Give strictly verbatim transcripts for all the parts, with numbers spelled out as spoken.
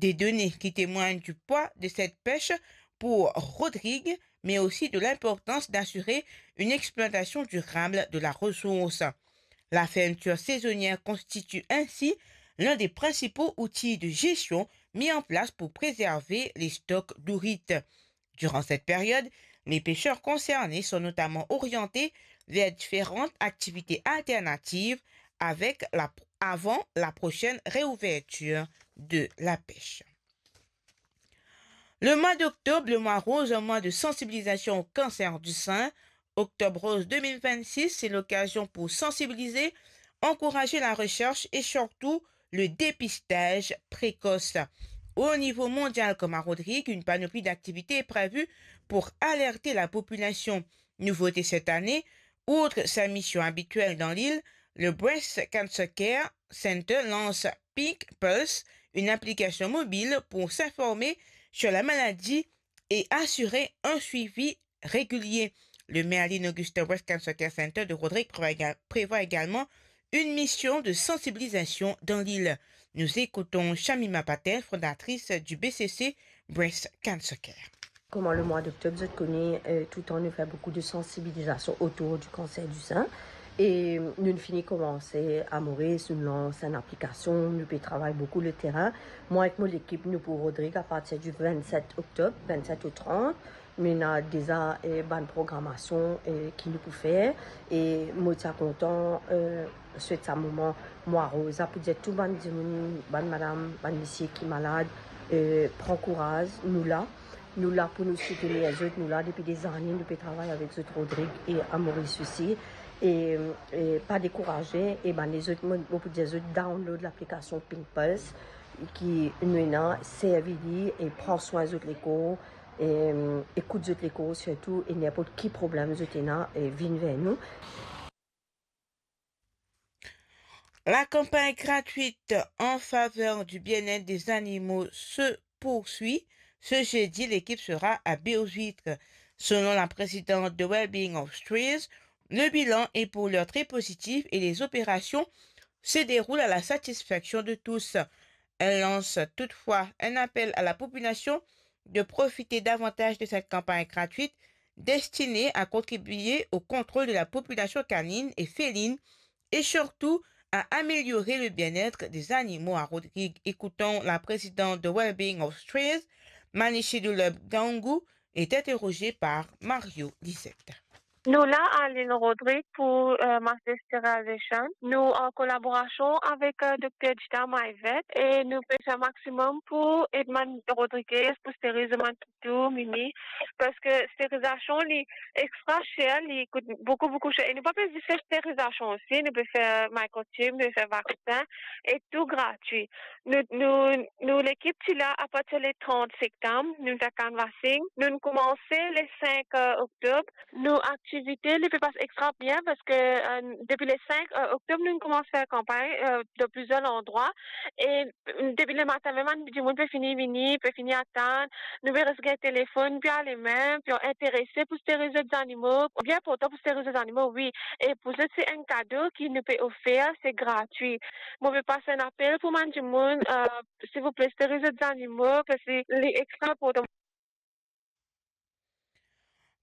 Des données qui témoignent du poids de cette pêche pour Rodrigue, mais aussi de l'importance d'assurer une exploitation durable de la ressource. La fermeture saisonnière constitue ainsi l'un des principaux outils de gestion mis en place pour préserver les stocks d'ourite. Durant cette période, les pêcheurs concernés sont notamment orientés vers différentes activités alternatives avec la, avant la prochaine réouverture de la pêche. Le mois d'octobre, le mois rose, un mois de sensibilisation au cancer du sein. Octobre Rose deux mille vingt-six, c'est l'occasion pour sensibiliser, encourager la recherche et surtout le dépistage précoce. Au niveau mondial comme à Rodrigues, une panoplie d'activités est prévue pour alerter la population. Nouveauté cette année, outre sa mission habituelle dans l'île, le Breast Cancer Care Center lance Pink Pulse, une application mobile pour s'informer sur la maladie et assurer un suivi régulier. Le Merlin Augustin Breast Cancer Care Center de Rodrigues prévoit éga-, prévoit également une mission de sensibilisation dans l'île. Nous écoutons Shamima Patel, fondatrice du B C C Breast Cancer Care. Kouma le mwa doktob, zot kone, euh, touletan nou fer boukou de sansibilizasion otour di kanser di sin. E nou fini koumanse a Moris, nou lans enn aplikasion, nou pe travay boukou leterin. Mwa ek mo lekip, nou pou Rodrigues apartir di vennset oktob, vennset ou trant. Nou ena deza, eh, bann programasion, eh, ki nou pou fer. E mo ti a kontan, eh, swet sa moman mwa roz la pou dir tou bann dimoun, bann madam, bann misie ki malad, eh, pran kouraz, nou la. Nou la pou nou soutenir zot, nou la depi dezane, nou pe travay avek zot Rodrigues e a Moris osi. E, e pa dekouraze, e bann lezot, mo, mo pou dir zot download laplikasion Pink Pulse ki nou ena, servi li e pran swin zot lekor, e, ekout zot lekor sirtou, e ninport ki problem zot ena, e vinn ver nou. La campagne gratuite en faveur du bien-être des animaux se poursuit. Ce jeudi, l'équipe sera à Baie-aux-Huîtres. Selon la présidente de Wellbeing of Trees, le bilan est pour l'heure très positif et les opérations se déroulent à la satisfaction de tous. Elle lance toutefois un appel à la population de profiter davantage de cette campagne gratuite destinée à contribuer au contrôle de la population canine et féline et surtout à améliorer le bien-être des animaux à Rodrigues. Écoutons la présidente de Wellbeing of Trees, Manishi Dulab Gangu, est interrogée par Mario Lisette. Nou la a Lil Rodrig pou, euh, mass sterilization. Nou an kolaborasion avek, euh, Dokter Dita Maivet e nou pe fer maximum pou ed bann Rodriguez pou steriliz bann toutou, mimi, parski sterizasion li extra cher, li kout boukou, boukou cher. E nou pa pe zis fer sterizasion osi, nou pe fer microchip, nou pe fer vaksin, e tou gratwi. Nou, nou, nou lekip ti la apartir le trant septam, nou fer canvassing. Nou koumanse le senk, euh, oktob. Nou aktivite, li pe pas extra bien parski, euh, depi le senk, euh, oktob, nou koumans fer kanpagn, euh, dan plizier landrwa. E, mm, depi lematin mem, bann dimoun pe fini vini, pe fini atann. Nou pe res gagn telefonn, pe ale mem, pe interese pou steriliz zot zanimo. Bien inportan pou steriliz zot zanimo, wi. E pou zot, se enn kado ki nou pe ofer, se gratwi. Mo pe pas enn apel pou bann dimoun, euh, silvouple, steriliz zot zanimo, parski li extra inportan.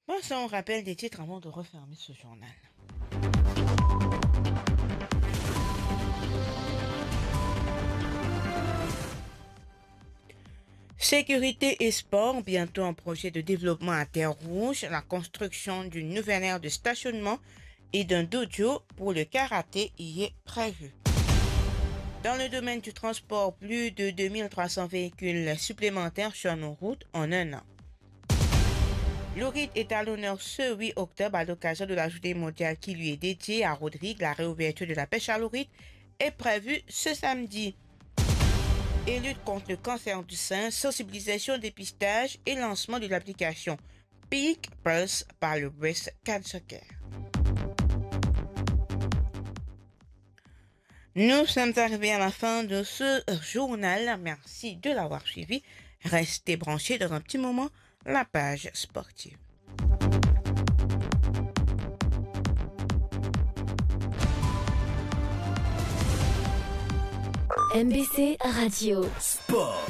Passons au rappel des titres avant de refermer ce journal. Sécurité et sport, bientôt un projet de développement à Terre-Rouge, la construction d'une nouvelle aire de stationnement et d'un dojo pour le karaté y est prévu. Dans le domaine du transport, plus de deux mille trois cents véhicules supplémentaires sur nos routes en un an. L'ourite est à l'honneur ce huit octobre à l'occasion de la journée mondiale qui lui est dédiée. À Rodrigues, la réouverture de la pêche à l'ourite est prévue ce samedi. Et lutte contre le cancer du sein, sensibilisation, dépistage et lancement de l'application Pink Pulse par le Breast Cancer Care. Nous sommes arrivés à la fin de ce journal. Merci de l'avoir suivi. Restez branchés, dans un petit moment, la page sportive. M B C Radio. Sport.